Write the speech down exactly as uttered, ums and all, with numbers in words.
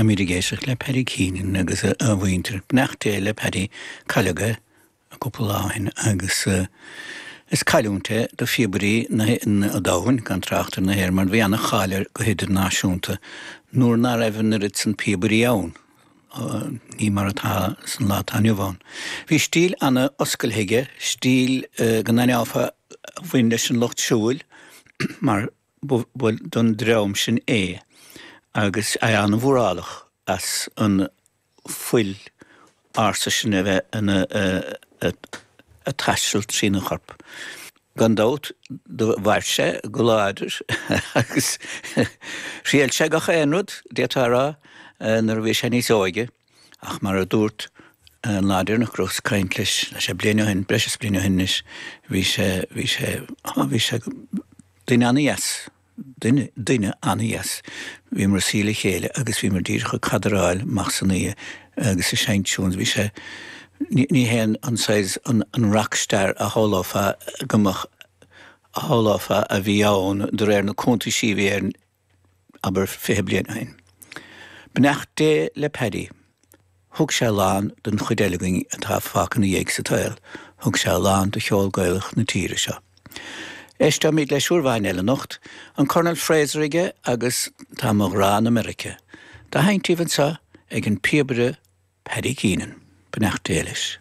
Táimid ag éisteacht le Paddy Keenan agus a mhuintir. Beannacht Dé le Paddy cailleadh é cúpla lá ó shin agus is cailliúint é do phíobairí an domhain gan trácht ar na hÉireann mar bhí an-cháil air go hidirnáisiúnta nuair ná raibh an oiread san píobairí ann. Ní mar atá san lá atá inniu ann. Bhí stíl an-oscailte aige, stíl go n-aithneofá a bhain leis an lucht siúil mar ba don dream sin é agus é an-mhórálach as an fuil ársa sin a bheith ina ag taisteal trína chorp. Gan dabht do mhair sé go láidir agus thriail sé gach aon rud, d'fhéadfá a rá, nuair a bhí sé níos óige, ach mar a dúirt an lá deireanach go rabhas ag caint leis, le sé bliain ó shin, breis is bliain ó shin anois, bhí sé, bhí sé, bhí sé duine an-dheas. Duine, duine an-dheas. Bhíomar ag suí le chéile agus bhíomar díreach ag cadráil amach san oíche agus ag seinnt tunes. Bhí sé, ní, ní hé an saghas, an, an rockstar a shamhlófá go mbeadh, a shamhlófá a bhí ann de réir na cuntaisí a bhí air, abair, fiche bliain ó shin. Beannacht Dé le Paddy. Thug sé a lán don chuid eile againn atá fágtha ina dhiaidh sa tsaol. Thug sé a lán do cheol Gaelach na tíre seo. Éisteoimid leis uair amháin eile anocht, an Colonel Fraser aige agus Tá mo ghrá in America. Dá sheinnt daoibh anseo ag an píobaire Paddy Keenan. Beannacht Dé leis.